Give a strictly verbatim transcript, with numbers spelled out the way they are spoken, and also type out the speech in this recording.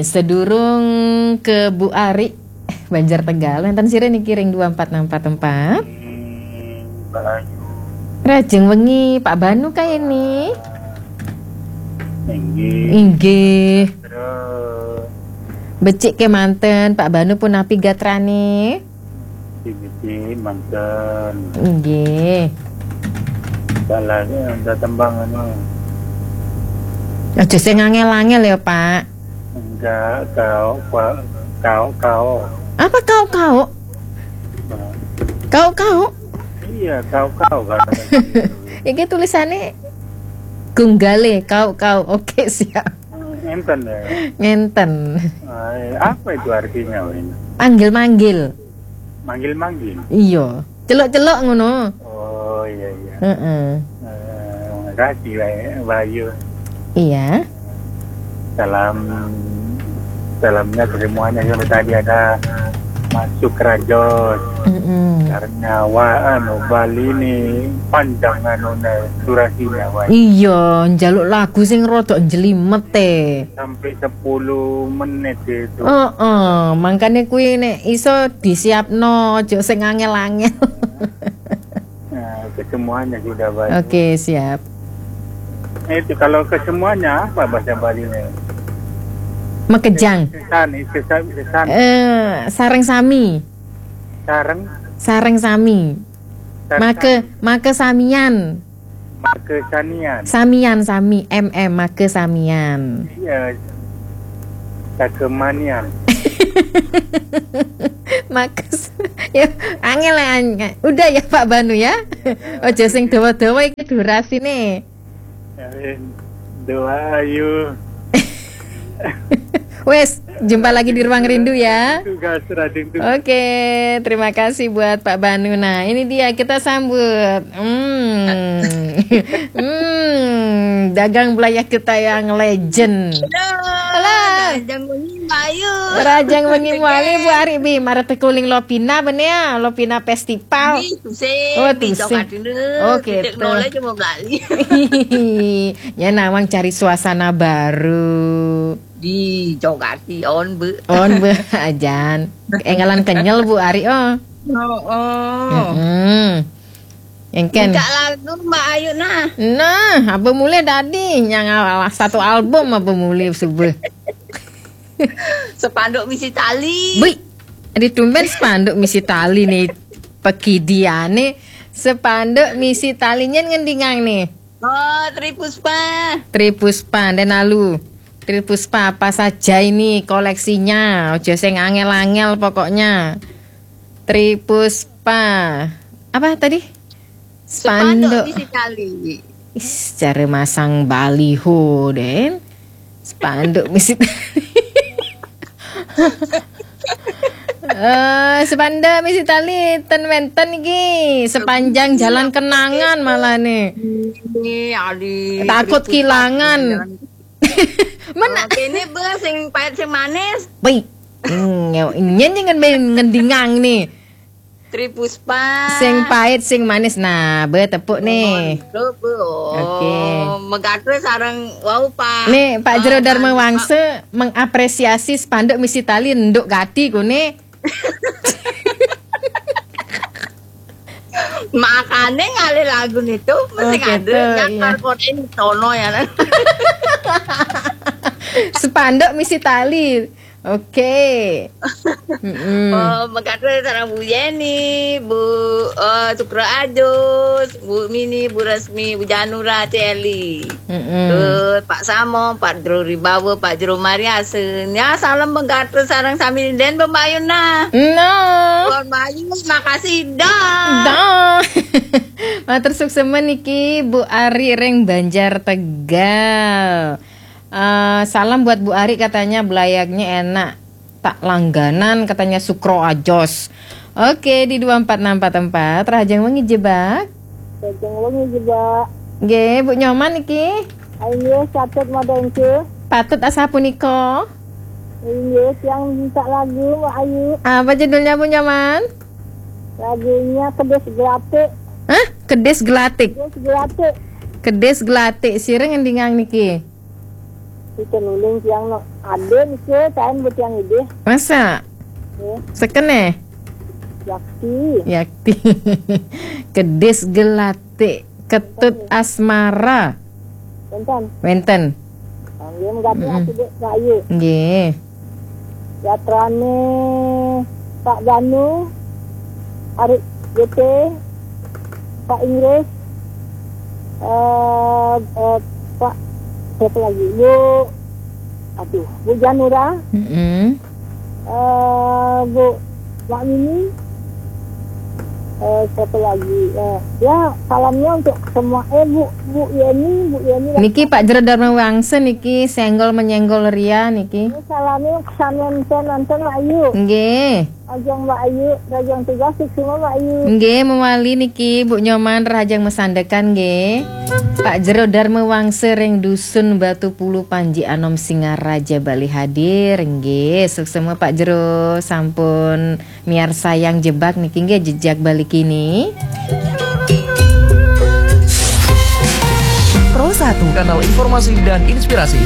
Sedurung ke Bu Ari, Banjar Tegal, wénten sira niki ring dua empat enam empat empat. Hmm, Mbak Ayu. Rajeng wengi, Pak Banu kae ini. Inggih. Inggih. Terus Becik kemanten, Pak Banu punapi gatrane? Siji manten. Inggih. Balane ada tembang anu. Aja sing angel-angel ya, Pak. Enggak, kau, kau, kau, kau. Apa kau-kau? Kau-kau? Iya, kau, kau kan. Iki tulisane Gunggale, kau-kau. Oke, siap. Ngenten ya. Ngenten. Eh, apa itu artinya, Win? Panggil-manggil. Manggil-manggil. Iya. Celok-celok ngono. Oh, iya, iya. Heeh. Eh, makasih, Mbak Ayu. Iya. Salam, salamnya ke semuanya. Yang tadi ada Mas Sukrajos. Mm-mm. Karena wa anu Bali ini panjang anu durasinya, Wak. Iya, njaluk lagu sing rodok njlimet e. Sampai sepuluh menit itu. Heeh, mangkane kuwi nek iso disiapno, aja sing angel-angel. Nah, ke semuanya sudah, Wak. Oke, siap. Itu kalau ke semuanya apa bahasa Balinya? Makejang. Sesan, sesan, sesan. Eh, sareng sami. Sareng, Sareng sami. sareng Make, make samian. Make sanian. Samian sami, M M, make samian. Iya. Sakemanian. Make s- ya, angel, angel. Udah ya, Pak Banu ya. Aja sing dawa-dawa iki durasine. Eh, Doa ayu. Wes, jumpa lagi di Ruang Rindu ya. Tugas rajin tugas. Oke, terima kasih buat Pak Banu. Nah, ini dia, kita sambut. Hmm. Hmm, dagang belayah kita yang legend. Halo. Halo. Rajang wengi Mbak Ayu. Rajang wengi mawali, Bu Ari, bi, marep tekuling Lopina, bener ya? Lopina Festival. Di Tusing, Oh, di Tusing. Cokadene, Oh, di gitu. Teknole cuma Bali. Ya, nawang cari suasana baru. Di Cokati on, Bu. On, Bu, ajan. Enggalan kenyel, Bu Ari, oh. Oh, oh. Hmm. Engken. Buka lagu Mbak Ayu nah. Nah, apa mulai tadi? Yang awal satu album apa mulai subuh? Sepanduk misi tali. Bui, ada tumben sepanduk misi tali nih. Pegidiane sepanduk misi talinya ngendingang nih. Oh, Tri Puspa. Tri Puspa, dan lalu. Tri Puspa apa saja ini koleksinya? Ojo sing angel-angel pokoknya. Tri Puspa. Apa tadi? Sepanduk Spanduk. Misi Tali. Is, cara masang baliho, Den. Spanduk misi tali. Eh, spanduk misi tali ten wenten iki sepanjang jalan kenangan malah nih. Ini ali. Takut kehilangan. Mana? Oke, ini bos sing pahit sing manis. Wih. Hmm, nyen nyen ngendingang nih. Tri Puspa. Sing pahit sing manis. Nah, be tepuk nih. Tuh, Bu. Oh, Oke. Megatwe sareng wau Pak. Nih, Pak Jero Oh, Darma Pak. Wangse mengapresiasi spanduk misi tali nduk gati kune. Makane ngalih lagu nitu mesti Oh, gitu, ada iya. Kode ini tono ya kan. Spanduk misi tali. Oke. Mm-mm. Oh, Megatwe sareng Bu Yeni, Bu eh, Sukro Ajus, Bu Mini, Bu Resmi, Bu Janura, Celi. Mm-mm. Terus Pak Samo, Pak Jero Ribawa, Pak Jero Mariasen. Ya, salam Megatwe sareng sami den Mbak Ayu nah. No. Mbak Ayu, makasih dah. Dah. Matur suksema niki Bu Ari ring Banjar Tegal. Eh, salam buat Bu Ari, katanya belayaknya enak. Tak langganan katanya Sukro Ajos. Oke, di dua empat enam empat empat, Rahajeng Wengi Jebak. Rajeng wengi Jebak. Nggih, Bu Nyoman niki. Inggih, satut madengke. Patut asapunika. Inggih, tiang minta lagu Mbak Ayu. Apa judulnya, Bu Nyoman? Lagunya Kedis Gelatik. Hah? Kedis Gelatik. Kedis Gelatik. Kedis Gelatik. Sira ngendingang niki. Kita nuling tiang no. Ada niki, tain buat tiang idih. Masa? Ya, Sekene? yakti. Yakti. Kedis gelati. Ketut asmara. Tentang. Wenten. Dia mengganti aku dek saya. Nggih. Yatrane Pak Danu, Arik G T, Pak Inggris, eh, eh, Pak, siapa lagi? Bu, aduh, Bu Janura, Mm-mm. eh, Bu Mak Mimi, eh, siapa lagi? Eh, ya, salamnya untuk semua. Eh, Bu, Bu Yeni, Bu Yeni. Niki Pak Jero Dharma Wangsa niki senggol menyenggol ria niki. Salamnya kesanan nonton Mak Ayu. Nggih. Rajang Mak Ayu, rajang tugas semua Mak Ayu. Nggih, mewali niki Bu Nyoman rahajeng mesandekan nggih. Pak Jero Dharma Wangsa ring Dusun Batu Pulu Panji Anom Singaraja Bali hadir nggih. Suksma Pak Jero sampun miarsayang Jebak niki nggih, Jejak Bali Kini. Pro satu. Kanal informasi dan inspirasi.